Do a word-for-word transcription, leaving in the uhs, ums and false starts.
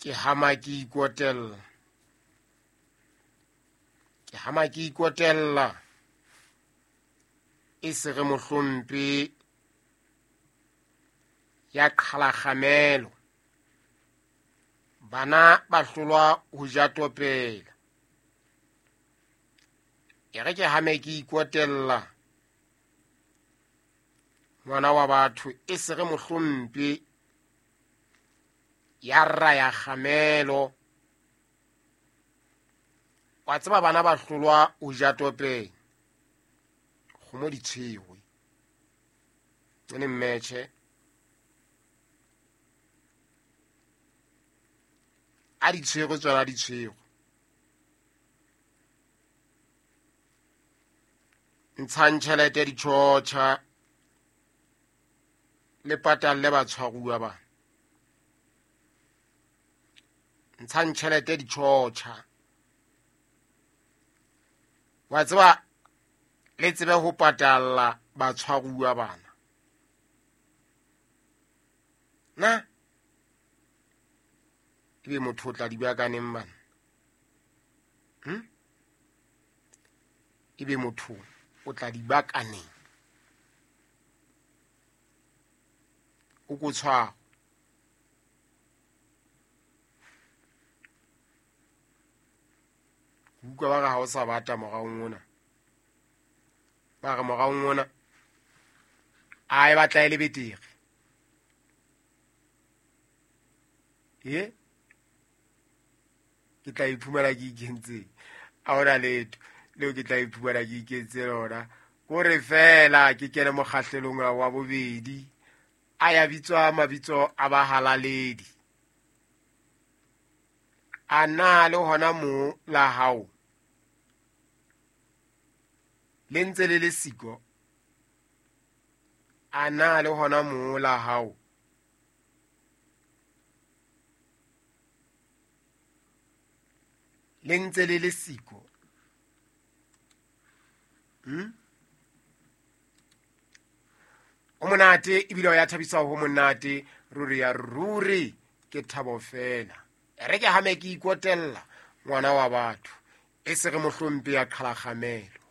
Ke hama ke ikotella. Ke hama ke ikotella. E se re mohlompe ya qhala kgamelo. Bana ba hlolwa ho ja topela. E re ke hame ke ikotella. Ngwana wa batho e se re mohlompe ya raya kgamelo. Wa tseba bana ba hlolwa ho ja topela. Kgomo di tshwerwe. Ene mmetjhe. A di tshwerwe tsona di tshwerwe. Ntshang tjhelete ditjhotjha le patalle batshwaruwa ba. Ntshang tjhelete ditjhotjha. Wa tseba le tsebe ho patalla batshwaruwa bana. Na ebe motho o tla di bua ka neng bana? Hm? Ebe motho o tla di bua ka neng? O ko tshwara. Utlwa ba re ha o sa bata moraong ona. Ba re moraong ona a e batla e le betere. E? Ke tla iphumana ke ikentseng. Ha hona letho leo ke tla iphumana ke ikentse lona. Kore fela ke kene mokgahlelong wa bobedi. A ya bitswa mabitso a bahalaledi. A na le hona moo la hao le ntse le le siko. A na le hona moo la hao le ntse le le siko. Hmm? O monate ebile o ya thabisa ho monate ruri ya ruri ke thabo fela. E re ke hame ke ikotella ngwana wa batho e se re mohlompe ya qhala kgamelo.